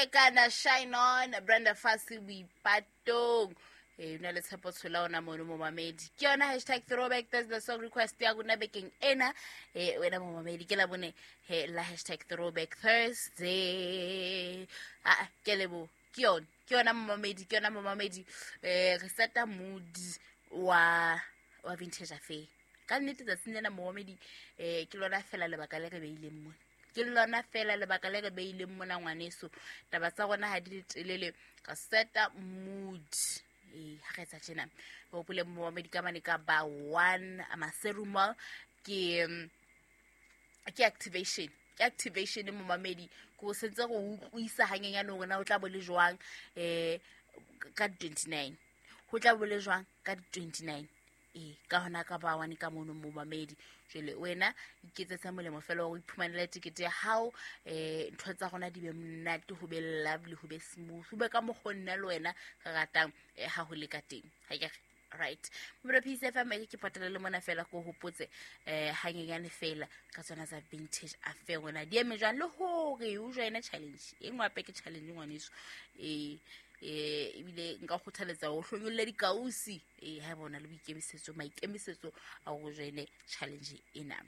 Kekana, Shine On, Brenda Fassie, Boipatong. E na le tshepo tshola ona mono momamedi. Ke yona #throwback, that's the song request ya rona bekeng ena. E wena momamedi, ke la bone he la #ThrowbackThursday. Ah, ke lebo ke yona, ke yona momamedi, ke yona momamedi. Re seta mood wa Vintage Affair. Ka nnete tsatsing lena momamedi, ke lona fela lebaka le re beileng mona. Ke lona fela lebaka le re beileng mona ngwaneso. Taba tsa rona ha di le telele, re seta mood. Ha re etsa tjena, re hopole momamedi ka mane ka ba 1 Maseru Mall, ke activation. Ke activation momamedi, ko sentse go utlwisa hanyenyane hore na o tla bo le jwang ka 29. Ho tla bo le jwang ka 29. Ka hona ka ba 1 ka mono momamedi. Jwale wena iketsetse molemo fela hore o iphumanele tikete ya hao, ntho tsa rona di be monate, ho be lovely, ho be smooth, ho be ka mokgwa nna le wena re ratang ha ho le ka teng. Ha ke re right. Mobile Peace FM e ke patala le mona fela ko hopotse hanyenyane fela ka tsona tsa Vintage Affair rona di eme jwang le hore o join challenge e nngwe hape ke challenge ngwaneso. Ebile nka kgothaletsa ho hlonyolle dikausi, ha bona le boikemisetso, maikemisetso a ho join challenge ena.